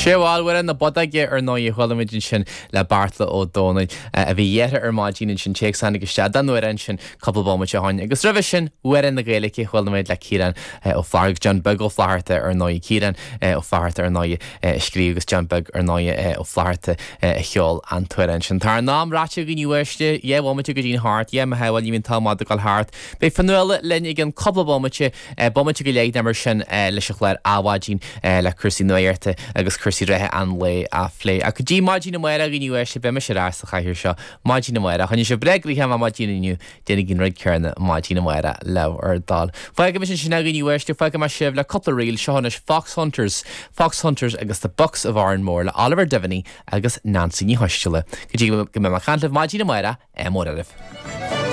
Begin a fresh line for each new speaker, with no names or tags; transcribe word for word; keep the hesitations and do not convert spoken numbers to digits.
Sé bhilhfuil na bodaige ar nóí chuimid sin le Beartla Ó Domhnaill a bhí dhéire ar maidin sin téacsána isteach den uair sin cúpla bomaite ó shin. Agus roimhe sin Amhrán na Gaeilge chuala le Ciarán Ó Flatharta John Beag Ó Flatharta ar ndóigh Ciarán Ó Flatharta ar ndóigh a scríobh agus John Beag ar ndóigh Ó Flatharta a cheol an t-amhrán sin. Tá an t-am ráite go nuéiste dhá bhomaite go dtí thart, dhé me heháil íon tá mad gal thart. Beidh Fionnuala linn i gceann cúpla bomaite bomaite go leith mar sin leis an chlár Adhmhaidin le cúrsaí nuachta agus cúrsaí reatha an lae a phlé. A go dtí maidin amárach a dhaoine uaisle beidh mise ar ais sa chathaoir seo maidin amárach. Choinnigh sibh breá gnoitheach maidin inniu déanaigí an rud céanna maidin amárach le bhur dtoil. Fágfaidh mise sin a dhaoine uaisle fágfaidh mé sibh le cúpla ríl seo anois Fox Hunters, Fox Hunters agus the Bucks of Oranmore le Oliver Devaney agus Nancy Ní Choisteala. Go dtí go mbeidh mé ag caint libh maidin amárach ádh mór oraibh.